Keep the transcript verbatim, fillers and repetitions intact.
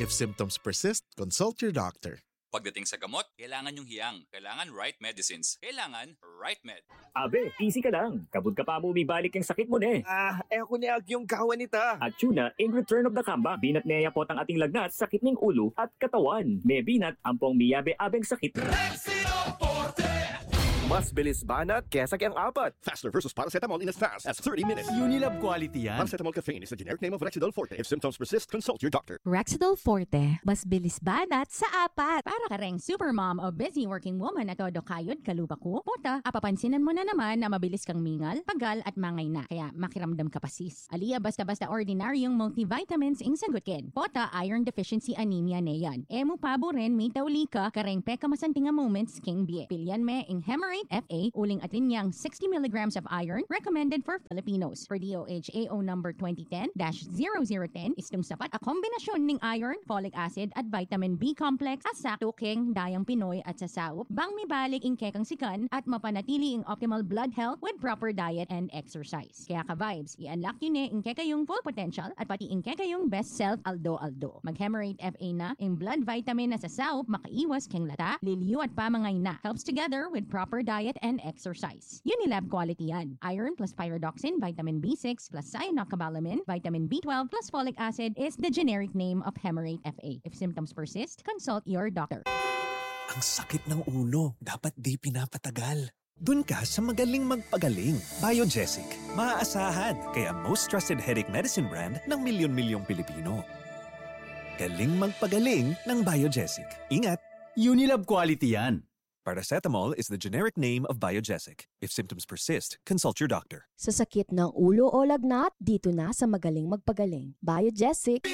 If symptoms persist, consult your doctor. Pagdating sa gamot, kailangan yung hiyang. Kailangan right medicines. Kailangan right med. Abe, easy ka lang. Kabud ka pa mu mibalik ing sakit mu ne. Ah, e ku ne agyung gawan ita. At yun na, in return of the comeback, binat ne ya potang ating lagnat, sakit ning ulu at katawan. Mebinat, ampong miyabe-abeng sakit. Mas bilis banat kesa keng apat. Faster versus paracetamol in as fast as thirty minutes. Unilab quality yan. Paracetamol caffeine is the generic name of Rexidol Forte. If symptoms persist, consult your doctor. Rexidol Forte, mas bilis banat sa apat. Para kareng supermom o busy working woman a todo kayod kalupa ku, pota, apapansinan mu na naman na mabilis kang mingal, pagal at mangayna. Kaya makiramdam ka pa, sis. Ali ya basta-basta ordinaryung multivitamins ing sagut ken. Pota, iron deficiency anemia ne yan. E mu paburen mitauli ka kareng pekamasanting a moments king bie. Pilian me ing Hemarate F A, uling atin yang sixty milligrams of iron, recommended for Filipinos. Per D O H A O number twenty ten dash zero zero ten, istung sapat a kombinasyun ning iron, folic acid, at vitamin B complex a sakto keng dayang Pinoy at sasaup bang mibalik ing kekang sikan at mapanatili ing optimal blood health with proper diet and exercise. Kaya ka-vibes, i-unlock yu ne ing kekayung full potential at pati ing kekayung best self aldo-aldo. Mag-Hemarate F A na, ing blood vitamin a sasaup makaiwas keng lata, liliu at pamangayna. Helps together with proper diet and exercise. Unilab quality yan. Iron plus pyridoxine, vitamin B six plus cyanocobalamin, vitamin B twelve plus folic acid is the generic name of Hemarate F A. If symptoms persist, consult your doctor. Ang sakit ng ulo, dapat di pinapatagal. Dun ka sa magaling magpagaling. Biogesic. Maaasahan, kaya most trusted headache medicine brand ng milyon-milyong Pilipino. Galing magpagaling ng Biogesic. Ingat! Unilab quality yan. Paracetamol is the generic name of Biogesic. If symptoms persist, consult your doctor. Sa sakit ng ulo o lagnat, dito na sa magaling magpagaling. Biogesic.